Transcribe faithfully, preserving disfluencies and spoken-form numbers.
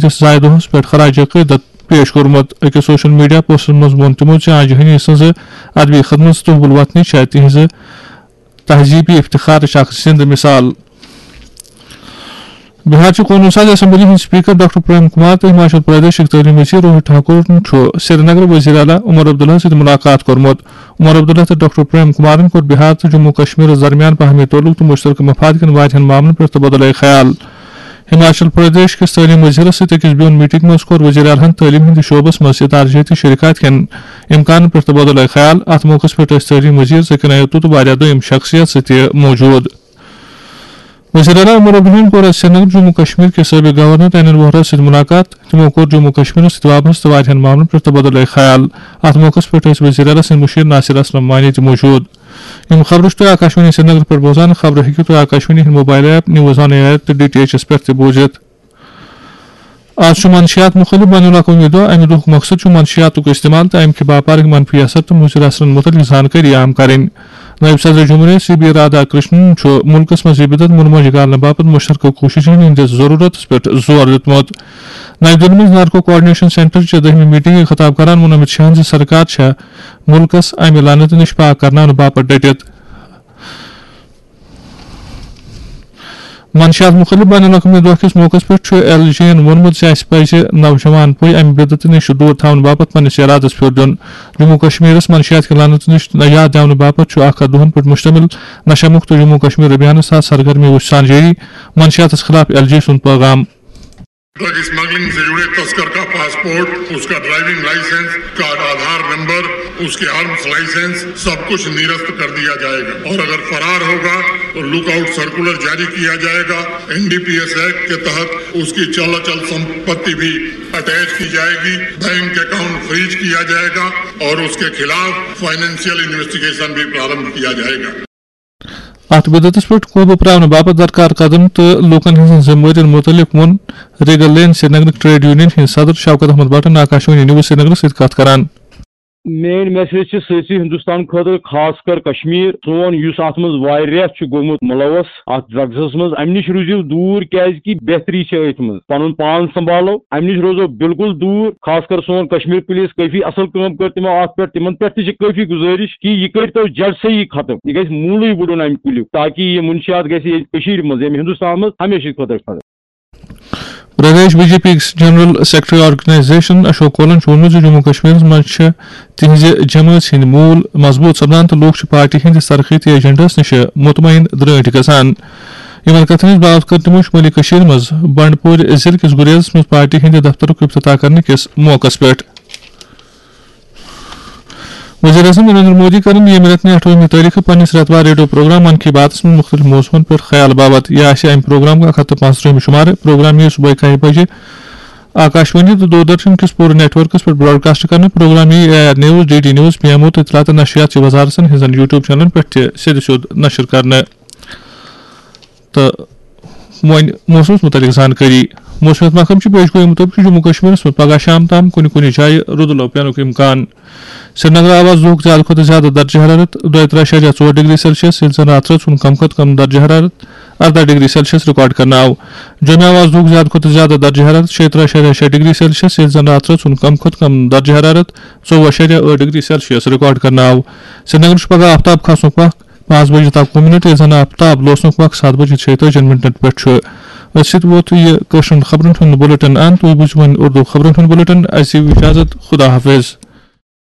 کِس زایہِ دۄہس پٮ۪ٹھ خراج عقیدت پیش کوٚرمُت۔ أکِس سوشل میڈیا پوسٹس منٛز ووٚن تِمو زِ آ جہانی سٕنٛز ادبی خدمت تہٕ حب الوطنی چھےٚ تِہنٛزِ تہذیبی افتخارٕچ اکھ زِندٕ مثال۔ بہار چہِ قونوٗن ساز اسمبلی ہٕنٛدۍ اسپیکر ڈاکٹر پریم کمار تہٕ ہماچل پردیشٕکۍ تعلیٖم وزیر روہت ٹھاکرن چھُ سرینگر وزیر اعلیٰ عمر عبداللہ سۭتۍ مُلاقات کوٚرمُت۔ عمر عبداللہ تہٕ ڈاکٹر پریم کمارن کوٚر بہار تہٕ جموں کشمیرس درمیان باہمی تعلق تہٕ مشترکہ مفاد کٮ۪ن واریاہن معاملن پٮ۪ٹھ تبادلہ خیال۔ ہماچل پردیش کِس تعلیٖم وزیرس سۭتۍ أکِس بیوٚن میٹنگ منٛز کوٚر وزیر اعلیٰ ہن تعلیٖم ہٕنٛدِس شعبس منٛز ادارٕ جٲتی شراکت کٮ۪ن امکانن پٮ۪ٹھ تبادلہ خیال۔ اتھ موقعس پٮ۪ٹھ ٲسۍ تعلیٖم وزیر ذکر آیت تہٕ واریاہ دوٚیِم شخصیت تہِ موجود۔ وزیر اعلیٰ عمر عبداللہن کوٚر آز سرینگر جموں کشمیر کِس سٲبق گورنر این این ووہرا سۭتۍ مُلاقات۔ تِمو کوٚر جموں کشمیرس سۭتۍ وابستہٕ واریاہن معاملن پٮ۪ٹھ تبادلہ خیال۔ اتھ موقعس پٮ۪ٹھ ٲسۍ وزیر اعلیٰ سٕنٛدۍ مُشیر ناصر اسلم وانی تہِ موجود۔ یِم خبرٕ چھِو تُہۍ آکاشوانی سرینگر پٮ۪ٹھ بوزان۔ خبرٕ ہیٚکِو تُہۍ آکاشوانی ہٕنٛدۍ mobile app news on air تہٕ ڈی ٹی ایچ ایس پٮ۪ٹھ تہِ بوٗزِتھ۔ آز چھُ منشیات مُخٲلِف بین الاقوٲمی دۄہ۔ اَمہِ دۄہُک مقصد چھُ منشیاتُک استعمال تہٕ اَمہِ کہِ باپارٕکۍ منفی اثر تہٕ مُضِر اثرن مُتعلِق زانکٲری عام کَرٕنۍ۔ نٲیِب صدر جمہوریہ سی بی رادھاکرشنن چھُ مُلکَس منٛز یہِ بدعت مُنموج کرنہٕ باپتھ مُشترکہٕ کوٗششن ہٕنٛدِس ضروٗرتس پٮ۪ٹھ زور دیُتمُت۔ نَیہِ دِلہِ منٛز نارکو کوآرڈینیشن سینٹر چہِ دٔہمہِ میٹنگہِ خطاب کران ووٚن امیت شاہن زِ سرکار چھےٚ مُلکَس اَمہِ لعنتہٕ نِش پاک کرناونہٕ باپتھ ڈٔٹِتھ۔ منشیات مُخٲلِف بین الاقوٲمی دۄہ کِس موقعس پٮ۪ٹھ چھُ ایل جے یَن ووٚنمُت زِ اَسہِ پَزِ نوجوان پُے اَمہِ بدعتہٕ نِش دوٗر تھاونہٕ باپتھ پننِس ارادس پھیُر دیُن۔ جموں کشمیرس منشیات کہِ لعنتہٕ نِش یاد دِنہٕ باپتھ چھُ اکھ ہتھ دۄہَن پٮ۪ٹھ مشتمل نشہ مُکت جموں کشمیر ابھیانس تحت سرگرمی وُچھان جٲری۔ منشیاتس خلاف ایل جے سُنٛد پیغام۔ ڈرگ اسمگلنگ سے جڑے تسکر کا پاسپورٹ، اس کا ڈرائیونگ لائسنس، اس کا آدھار نمبر، اس کے آرمز لائسنس، سب کچھ نرست کر دیا جائے گا اور اگر فرار ہوگا تو لک آؤٹ سرکولر جاری کیا جائے گا۔ N D P S act کے تحت اس کی چل اچل سمپتی بھی اٹیچ کی جائے گی، بینک اکاؤنٹ فریز کیا جائے گا اور اس کے خلاف فائنینشیل انویسٹیگیشن بھی پرارمبھ کیا جائے گا۔ اتھ بدعتس پٮ۪ٹھ قوبہٕ پراونہٕ باپتھ درکار قدم تہٕ لوٗکن ہٕنٛزن ذمہٕ وٲرین مُتعلق ووٚن ریگل لین سرینگرٕک ٹریڈ یونین ہٕنٛدۍ صدر شوکت احمد بٹن آکاشوانی نیوز سرینگرس سۭتۍ کتھ کران۔ میٲنۍ میسیج چھِ سٲرسٕے ہندوستان خٲطرٕ، خاص کر کشمیر۔ سون یُس اتھ منٛز واریاہ چھُ گوٚمُت ملوث اتھ ڈرگسس منٛز، امہِ نِش روٗزِو دوٗر، کیازِ کہِ بہتری چھِ أتھۍ منٛز۔ پنُن پان سنبھالو، امہِ نِش روزو بالکل دوٗر۔ خاص کر سون کشمیر پولیس کٲفی اصل کٲم کٔر تِمو اتھ پٮ۪ٹھ، تِمن پٮ۪ٹھ تہِ چھِ کٲفی گُزٲرِش کہِ یہِ کٔرۍتو جڑ سے ہی ختم، یہِ گژھِ موٗلٕے وُڈُن امہِ کُلیُک، تاکہِ یہِ منشیات گژھِ ییٚتہِ کٔشیٖرِ منٛز، ییٚمہِ ہندوستان منٛز ہمیشہِ خٲطرٕ ختم۔ Pradesh B J P general secretary organisation Ashok کولن چھُ ووٚنمُت زِ جموں کشمیرس منٛز چھِ تِہنٛزِ جمٲژ ہٕنٛدۍ موٗل مضبوٗط سپدان تہٕ لوٗکھ چھِ پارٹی ہٕنٛدِس ترقیتی ایجنڈاہس نِش مطمئن درٲنٹھۍ گژھان۔ یِمن کتھن ہٕنٛز باوتھ کٔر تِمو شمٲلی کٔشیٖر منٛز بنڈپورِ ضلعہٕ کِس گُریزس منٛز پارٹی ہٕنٛدِ دفترُک افتتاح کرنہٕ کِس موقعس پٮ۪ٹھ۔ وزیر اعظم نریندر مودی کرن ییٚمہِ رٮ۪تہٕ نہِ ٲٹھٲہمہِ تٲریخہٕ پننِس رٮ۪توار ریڈیو پروگرام من کی باتس منٛز مُختٔلِف موضوعن پٮ۪ٹھ خیال باوت۔ یہِ آسہِ امہِ پروگرامُک اکھ ہتھ تہٕ پانٛژترٕہمہِ شُمارٕ۔ پروگرام یِیہِ صبحٲے کاہہِ بجہِ آکاشوانی تہٕ دوردرشن کِس پوٗرٕ نیٹ ورکس پٮ۪ٹھ براڈکاسٹ کرنہٕ۔ پروگرام یِیہِ A R news, D D news, P M O تہٕ اطلاعات تہٕ نشریات چہِ وزارتن ہٕنٛزن یوٹیوب چینلن پٮ۪ٹھ تہِ سیٚدِ سیوٚد نشر کرنہٕ۔ تہٕ وۄنۍ موسمس مُتعلق زانکٲری۔ موسمیات محکمہٕ چھُ پیش گویی مُطٲبِق چھُ جموں کشمیرس منٛز پگہہ شام تام کُنہِ کُنہِ جایہِ رُدٕ لو پینُک امکان۔ سرینگر آو آز دُہُک زیادٕ کھۄتہٕ زیادٕ درجہ حرارت دۄیہِ ترٛہہ اَشاریہ ژور ڈگری سیلسیس، ییٚلہِ زن راتہٕ رٲژ ہُنٛد کم کھۄتہٕ کم درجہ حرارت ارداہ ڈگری سیلسیس ریکارڈ کرنہٕ آو۔ جوٚمہِ آو آز دُہُک زیادٕ کھۄتہٕ زیادٕ درجہ حرارت شیٚیہِ ترٛہہ اَشاریہ شےٚ ڈگری سیلسیس، ییٚلہِ زن راتہٕ رٲژ ہُنٛد کم کھۄتہٕ کم درجہ حرارت ژوٚوُہ اَشاریہ ٲٹھ ڈگری سیلسیس ریکارڈ کرنہٕ آو۔ سرینگر چھُ پگہہ آفتاب کھسنُک وق پانٛژھ بجے تہٕ اَکوُہ منٹ، ییٚلہِ زن آفتاب لوسنُک وقت ستھ بجے ژۄیہِ تٲجی منٹن پٮ۪ٹھ چھُ۔ أتھۍ سۭتۍ ووت یہِ کٲشرٮ۪ن خبرن ہُنٛد بُلٹن اند۔ تُہۍ بوٗزِو وۄنۍ اردو خبرن ہُنٛد بُلٹن۔ اَسہِ دِیِو اجازت۔ خدا حافظ۔